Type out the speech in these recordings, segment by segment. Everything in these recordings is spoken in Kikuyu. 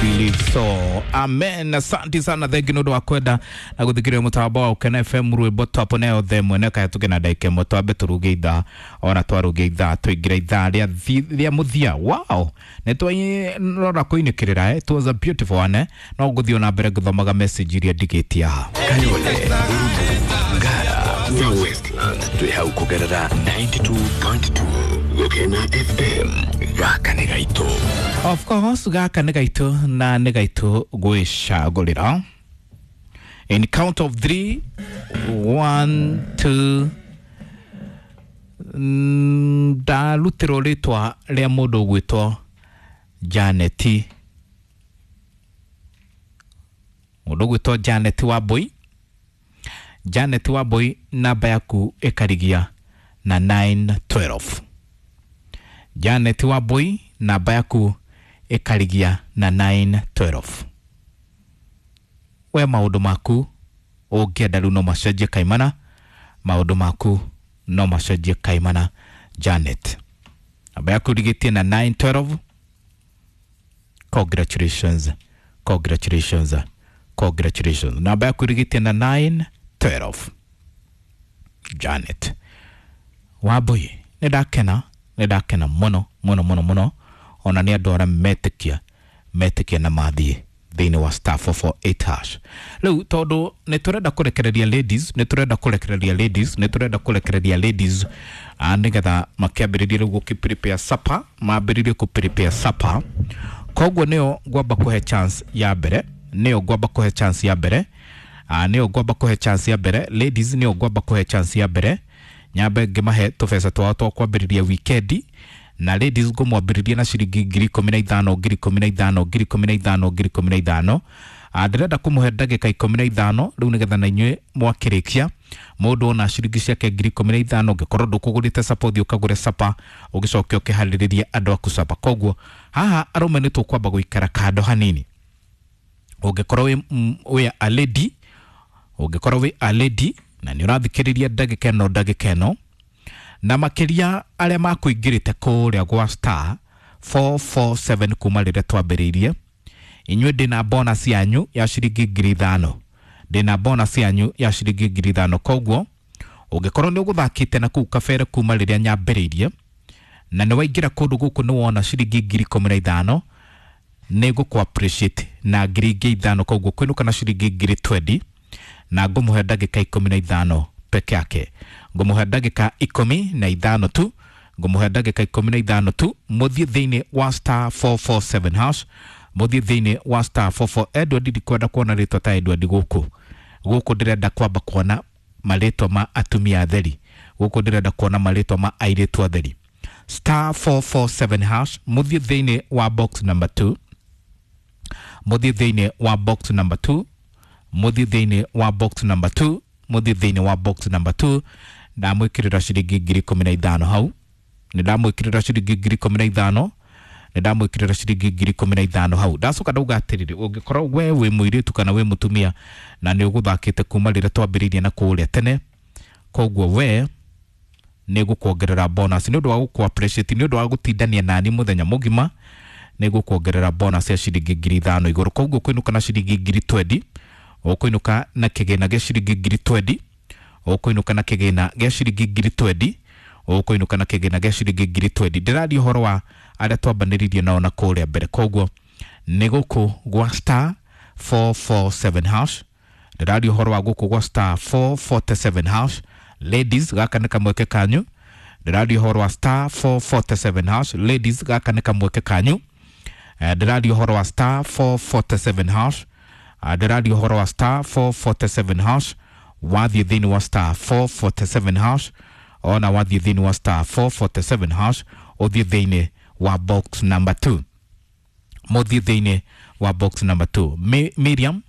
Believe so. Amen. Asante sana, thank you nä wa kwenda na gũthikĩrĩria mũtambo wa Ũkena FM rwĩmbo top na yothe mwene kaya tũke na ndagĩka ĩmwe twambe tũruge ithaa ona twaruge ithaa tũingĩre ithaa rĩa rĩa mũthia. Wow, nĩ twarora kũinĩkĩrĩra eh? It was a beautiful one eh? No ngũthiĩ ona mbere ngĩthomaga message iria ndigĩtie haha. Kayole, Rumu, Ngara na Westlands twĩ hau kũgerera 92.2 Gũkena FM. Gaka nĩ gaitũ. Of course gaka nĩ gaitũ na nĩ gaitũ gwĩcagũrĩra. In count of 3, 1, 2, ndarutĩrwo rĩtwa rĩa mũndũ ũgwĩtwo Janeti, mũndũ ũgwĩtwo Janet Wambui. Janet Wambui, namba yaku ĩkarigia na 912. Janet Wambui, namba yaku ĩkarigia na 912. We maũndũ maku ũngĩenda rĩu no macenjie kaimana, maũndũ maku no macenjie kaimana. Janet, namba yaku ĩrigĩtie na 912. Congratulations, congratulations, congratulations. Namba yaku ĩrigĩtie na 912, Janet Wambui. Nĩ ndakena, nĩ ndakena mũno mũno mũno mũno ona nĩ andũ arĩa metĩkia metĩkia na mathiĩ thĩinĩ wa star 448 hash. Rĩu tondũ nĩ tũrenda kũrekereria ladies, nĩ tũrenda kũrekereria ladies, nĩ tũrenda kũrekereria ladies, nĩgetha makĩambĩrĩrie rĩu gũkĩ prepare supper, mambĩrĩrie kũ prepare supper. Koguo nĩyo ngwamba kũhe chance ya mbere, nĩyo ngwamba kũhe chance ya mbere, nĩyo ngwamba kũhe chance ya mbere ladies, nĩyo ngwamba kũhe chance ya mbere, nyambe ngĩmahe tũbeca twao twa kwambĩrĩria wikendi. Na ladies ngũmwambĩrĩria na ciringi 15,000, 15,000, 15,000, 15,000. Ndĩrenda kũmũhe ndagĩka 15 rĩu nĩgetha na inyuĩ mwakĩrĩkia mũndũ ona ciringi ciake 15,000. Ũngĩkorwo ndũkũgũrĩte sapa, ũthiĩ ũkagũre sapa, ũgĩcoke ũkĩharĩrĩrie andũ aku sapa. Koguo haha arũme nĩ tũkwamba gũikara kando hanini. Ũngĩkorwo wĩ a lady, ũngĩkorwo wĩ a lady na nĩ ũrathikĩrĩria ndagĩka ĩno, ndagĩka ĩno na makĩria arĩa makũingĩrĩte kũrĩa gwa star 447 kuma rĩrĩa twambĩrĩirie, inyuĩ ndĩna bonus yanyu ya ciringi 5,000, ndĩna bonus yanyu ya ciringi 5,000. Koguo ũngĩkorwo nĩ ũgũthakĩte na kũu kabere kuma rĩrĩa nyambĩrĩirie na nĩ waingĩra kũndũ gũkũ nĩ wona ciringi 15,000, nĩ ngũkũ appreciate na 5,000. Koguo kwĩnũka na ciringi 20,000 na ngũmũhe ndagĩka 15 peke yake, ngũmũhe ndagĩka 15 tu, ngũmũhe ndagĩka 15 tu. Mũthiĩ thĩinĩ wa star 447 hash, mũthiĩ thĩinĩ wa star 44. Edward, ndikwenda kuona rĩtwa ta Edward gũkũ, gũkũ ndĩrenda kwamba kuona marĩtwa ma atumia atheri, gũkũ ndĩrenda kuona marĩtwa ma airĩtu atheri. Star 447 hash, mũthiĩ thĩinĩ wa box number 2, mũthiĩ thĩinĩ wa box number 2, mũthiĩ thĩinĩ wa box number 2, mũthiĩ thĩinĩ wa box number 2. Ndamwĩkĩrĩra ciringi 15,000 hau, nĩ ndamwĩkĩrĩra ciringi 15,000, nĩ ndamwĩkĩrĩra ciringi 15,000 hau. Ndacoka ndauga atĩrĩrĩ, ũngĩkorwo we wĩ mũirĩtu kana wĩ mũtumia na nĩ ũgũthakĩte kuma rĩrĩa twambĩrĩirie na kũrĩa tene, koguo we nĩ ngũkuongerera bonus nĩ ũndũ wa gũkũ appreciate, nĩ ũndũ wa gũtindania nani mũthenya mũgima, nĩ ngũkuongerera bonus ya ciringi 5,000 igũrũ. Koguo kwĩnũka na ciringi 20,000, ũkũinũka na kĩgĩna gĩa ciringi 20,000, ũkũinũka na kĩgĩna gĩa ciringi 20,000, ũkũinũka na kĩgĩna gĩa ciringi 20,000. Ndĩraria ũhoro wa arĩa twambanĩrĩirie nao na kũrĩa mbere. Koguo nĩ gũkũ gwa star 447 hash, ndĩraria ũhoro wa gũkũ gwa star 447 hash. Ladies, gaka nĩ kamweke kanyu. Ndĩraria ũhoro wa star 447 hash. Ladies, gaka nĩ kamweke kanyu. Ndĩraria ũhoro wa star 447 hash. Ndĩraria ũhoro wa star 447 hash. Wathiĩ thĩinĩ wa star 447 hash, ona wathiĩ thĩinĩ wa star 447 hash, ũthiĩ thĩinĩ wa box number 2, mũthiĩ thĩinĩ wa box number 2. Miriam,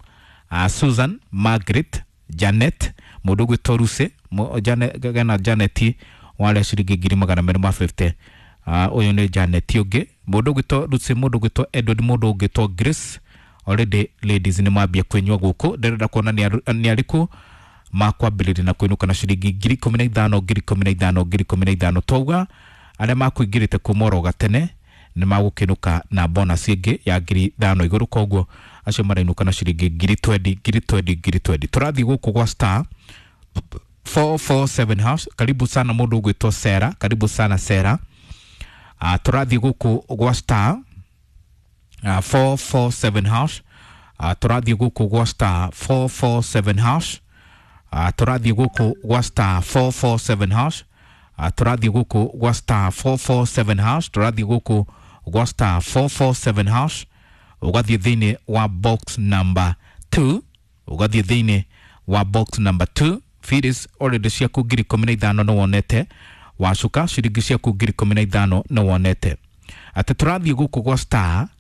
Susan, Margaret, Janet, mũndũ ũgwĩtwo Ruse, gena Janet warĩa ciringi 250,000. Ũyũ nĩ Janet ũngĩ, mũndũ ũgwĩtwo Ruse, mũndũ ũgwĩtwo Edward, mũndũ ũgwĩtwo Grace. Already ladies nĩ mambia kwĩnyua gũkũ. Ndĩrenda kuona nĩ arĩkũ makwambĩrĩria na kwĩnũka na ciringi 15,000, 15,000, 15,000. Twauga arĩa makũingĩrĩte kuma oro gatene Nĩ magũkĩnũka na bonus ĩngĩ ya 5,000 igũrũ, koguo acio marainũka na ciringi 20,000, 20,000, 20,000. Tũrathiĩ gũkũ gwa star 447 hash. Karibu sana mũndũ ũgwĩtwo Sera, karibu sana Sera. Tũrathiĩ gũkũ gwa star 447 hash. Tũrathiĩ gũkũ gwa star 447 hash. Tũrathiĩ gũkũ gwa star 447 hash. Tũrathiĩ gũkũ gwa star 447 hash. Tũrathiĩ gũkũ gwa star 447 hash, ũgathiĩ thĩinĩ wa box number 2, ũgathiĩ thĩinĩ wa box number 2. Fees already ciaku 15,000 nĩ wonete, wacuka ciringi ciaku 15,000 nĩ wonete atĩ tũrathiĩ gũkũ gwa star